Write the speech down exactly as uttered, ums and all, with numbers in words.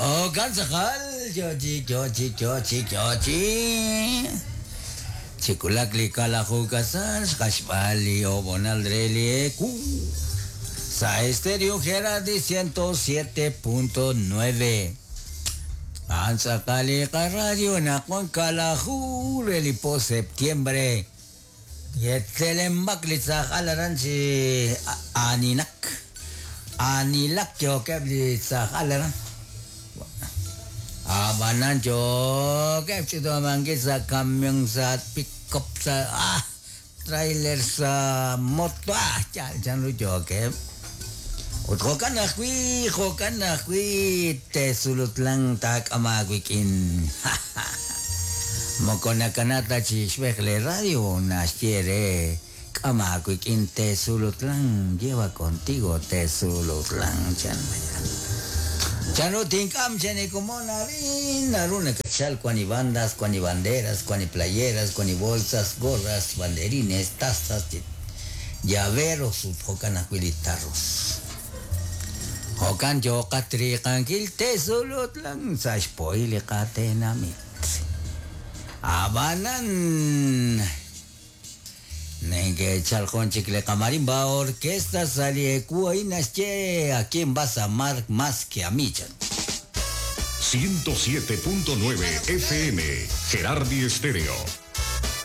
Jo'kan tz'aqal, yochi, yochi, yochi, yochi. Chikulak li kalaju kasal, xqaxb'al li obonal re li eku. Sa Estéreo Gerardi ciento siete punto nueve. An tz'aqal li qaradio naqwan kalaju re li po septiembre. Yetzelembak li tz'aqal aran chi aninak. Anilak yokeb li tz'aqal aran. Abanan yokeb chitomangi sa camión sa pick-up sa ah, trailer sa moto ah chal chanru yokeb. Ut jo'kan ajwi', jo'kan ajwi' Tesulutlan taak'amawikin. Moko nakanata chi xb'ej le radio naxye re k'amawikin Tesulutlan, lleva contigo Tesulutlan chan. Chanru tink'am chanikumon arin, naru nakachal cuani bandas, cuani banderas, cuani playeras, cuani bolsas, gorras, banderines, tazas, llaveros, ut jo'kan ajwi' li tarros. Jo'kan yoqatriqankil Tesulutlan sa xpohil li qatenamit. Abanan nenkechal jun chik li qamarimba orquesta sali eku ahí naxye a quién vas a amar más que a mí chan. ciento siete punto nueve F M Gerardi Estéreo.